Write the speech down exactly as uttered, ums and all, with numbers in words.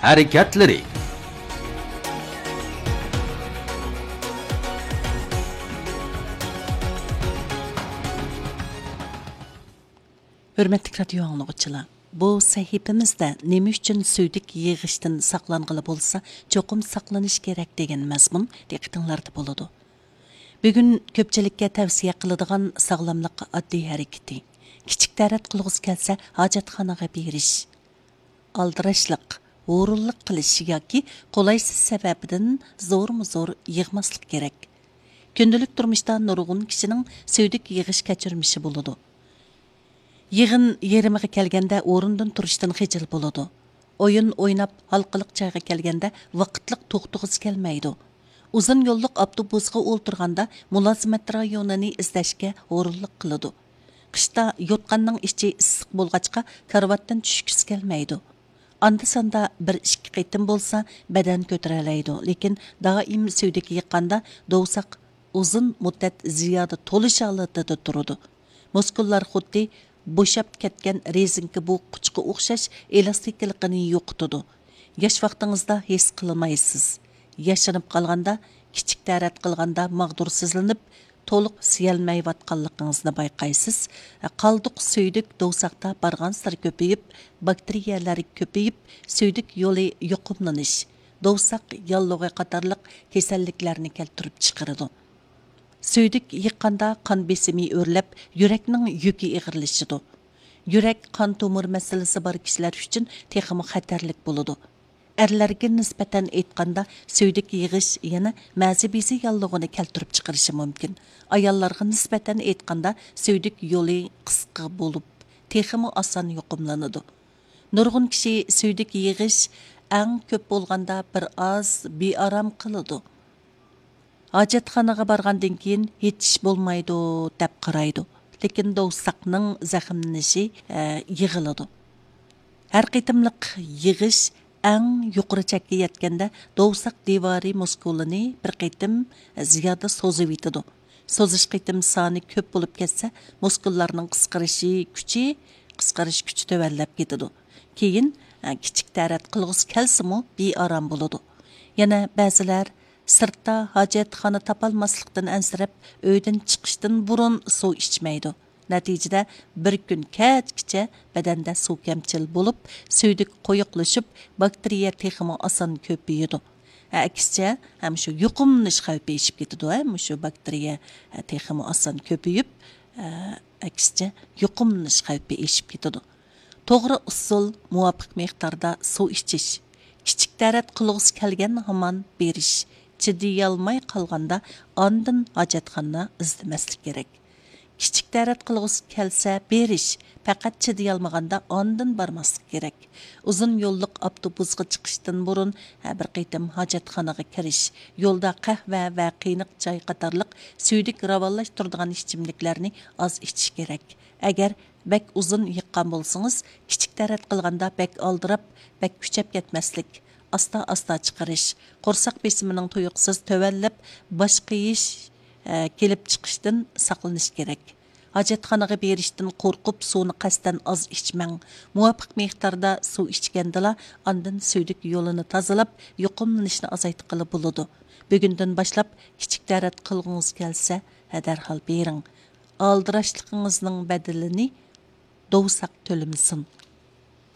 ھەرىكەتلىرى. ھۆرمەتلىك رادىيو ئاڭلىغۇچىلار، بۇ سەھىپىمىزدە نېمە ئۈچۈن سۈيدۈك يىغىشتىن ساقلانغىلى بولسا، چوقۇم ساقلىنىش كېرەك دېگەن مەزمۇن دىققىتىڭلاردا بولىدۇ. بۈگۈن كۆپچىلىككە تەۋسىيە قىلىدىغان ساغلاملىق ئاددىي ھەرىكىتى. كىچىك تەرەت قىلغۇسى كەلسە، ھاجەتخانىغا بېرىش. ئالدىراشلىق، ھۇرۇنلۇق قىلىش ياكى قولايسىز سەۋەبىدىن زورمۇ زور يىغماسلىق كېرەك. كۈندىلىك تۇرمۇشتا نۇرغۇن كىشىنىڭ سۈيدۈك يىغىش كەچۈرمىشى بولىدۇ. يىغىن يېرىمىغا كەلگەندە ئورنىدىن تۇرۇشتىن خىجىل بولىدۇ. ئويۇن ئويناپ، ھالقىلىق جايغا كەلگەندە ۋاقىتلىق توختىغۇسى كەلمەيدۇ. ئۇزۇن يوللۇق ئاپتوبۇسقا ئولتۇرغاندا مۇلازىمەت رايونىنى ئىزدەشكە ھۇرۇنلۇق قىلىدۇ. قىشتا يوتقاننىڭ ئىچى ئىسسىق بولغاچقا، كارىۋاتتىن چۈشكۈسى كەلمەيدۇ. ئاندا-ساندا بىر ئىككى قېتىم بولسا بەدەن كۆتۈرەلەيدۇ، لېكىن دائىم سۈيدۈك يىغقاندا دوۋساق ئۇزۇن مۇددەت زىيادە تولۇش ھالىتىدە تۇرىدۇ. مۇسكۇللار خۇددى بوشاپ كەتكەن رېزىنكا بوغقۇچقا ئوخشاش ئېلاستىكىلىقىنى يوقىتىدۇ. ياش ۋاقتىڭىزدا ھېس قىلمايسىز. ياشىنىپ قالغاندا، كىچىك تەرەت قىلغاندا ماغدۇرسىزلىنىپ، تولۇق سىيەلمەيۋاتقانلىقىڭىزنى بايقايسىز. قالدۇق سۈيدۈك دوۋساقتا بارغانسېرى كۆپىيىپ، باكتېرىيەلەر كۆپىيىپ، سۈيدۈك يولى يۇقۇملىنىش، دوۋساق ياللۇغى قاتارلىق كېسەللىكلەرنى كەلتۈرۈپ چىقىرىدۇ. سۈيدۈك يىغقاندا قان بېسىمى ئۆرلەپ، يۈرەكنىڭ يۈكى ئېغىرلىشىدۇ. يۈرەك، قان تومۇر مەسىلىسى بار كىشىلەر ئۈچۈن تېخىمۇ خەتەرلىك بولىدۇ. ئەرلەرگە نىسبەتەن ئېيتقاندا، سۈيدۈك يىغىش يەنە مەزى بېزى ياللۇغىنى كەلتۈرۈپ چىقىرىشى مۇمكىن. ئاياللارغا نىسبەتەن ئېيتقاندا، سۈيدۈك يولى قىسقا بولۇپ، تېخىمۇ ئاسان يۇقۇملىنىدۇ. نۇرغۇن كىشى سۈيدۈك يىغىش ئەڭ كۆپ بولغاندا بىر ئاز بىئارام قىلىدۇ. ھاجەتخانىغا بارغاندىن كېيىن ھېچ ئىش بولمايدۇ دەپ قارايدۇ. لېكىن دوۋساقنىڭ زەخىملىنىشى، ئە، يىغىلىدۇ. ھەر قېتىملىق يىغىش ئەڭ يۇقىرى چەككە يەتكەندە، دوۋساق دىۋارى مۇسكۇلىنى بىر قېتىم زىيادە سوزۇۋېتىدۇ. سوزۇش قېتىم سانى كۆپ بولۇپ كەتسە، مۇسكۇللارنىڭ قىسقىرىشى كۈچى، قىسقىرىش كۈچى تۆۋەنلەپ كېتىدۇ. كېيىن، ئە، كىچىك تەرەت قىلغۇسى كەلسىمۇ، بىئارام بولىدۇ. يەنە بەزىلەر سىرتتا ھاجەتخانا تاپالماسلىقتىن ئەنسىرەپ، ئۆيدىن چىقىشتىن بۇرۇن سۇ ئىچمەيدۇ. نەتىجىدە، بىر كۈن كەچكىچە بەدەندە سۇ كەمچىل بولۇپ، سۈيدۈك قويۇقلىشىپ، باكتېرىيە تېخىمۇ ئاسان كۆپىيىدۇ. ئەكسىچە، ھەم شۇ يۇقۇملىنىش خەۋپى ئېشىپ كېتىدۇ، ھە، مۇشۇ باكتېرىيە، ھە، تېخىمۇ ئاسان كۆپىيىپ، ھە، ئەكسىچە، يۇقۇملىنىش خەۋپى ئېشىپ كېتىدۇ. توغرا ئۇسۇل، مۇۋاپىق مىقداردا سۇ ئىچىش. كىچىك تەرەت قىلغۇسى كەلگەن ھامان بېرىش. چىدىيالماي قالغاندا ئاندىن ھاجەتخانا ئىزدىمەسلىك كېرەك. كىچىك تەرەت قىلغۇسى كەلسە بېرىش، پەقەت چىدىيالمىغاندا ئاندىن بارماسلىق كېرەك. ئۇزۇن يوللۇق ئاپتوبۇسقا چىقىشتىن بۇرۇن ھە بىر قېتىم ھاجەتخانىغا كىرىش، يولدا قەھۋە ۋە قېينىق چاي قاتارلىق سۈيدۈك راۋانلاشتۇرىدىغان ئىچىملىكلەرنى ئاز ئىچىش كېرەك. ئەگەر بەك ئۇزۇن يىغقان بولسىڭىز، كىچىك تەرەت قىلغاندا بەك ئالدىراپ، بەك كۈچەپ كەتمەسلىك، ئاستا-ئاستا چىقىرىش، قورساق بېسىمىنىڭ تۇيۇقسىز تۆۋەنلەپ، باش قېيىش، ئە، كېلىپ چىقىشتىن ساقلىنىش كېرەك. ھاجەتخانىغا بېرىشتىن قورقۇپ، سۇنى قەستەن ئاز ئىچمەڭ. مۇۋاپىق مىقداردا سۇ ئىچكەندىلا، ئاندىن سۈيدۈك يولىنى تازىلاپ، يۇقۇملىنىشنى ئازايتقىلى بولىدۇ. بۈگۈندىن باشلاپ كىچىك تەرەت قىلغۇڭىز كەلسە، ھە، دەرھال بېرىڭ. ئالدىراشلىقىڭىزنىڭ بەدىلىنى دوۋساق تۆلىمىسۇن.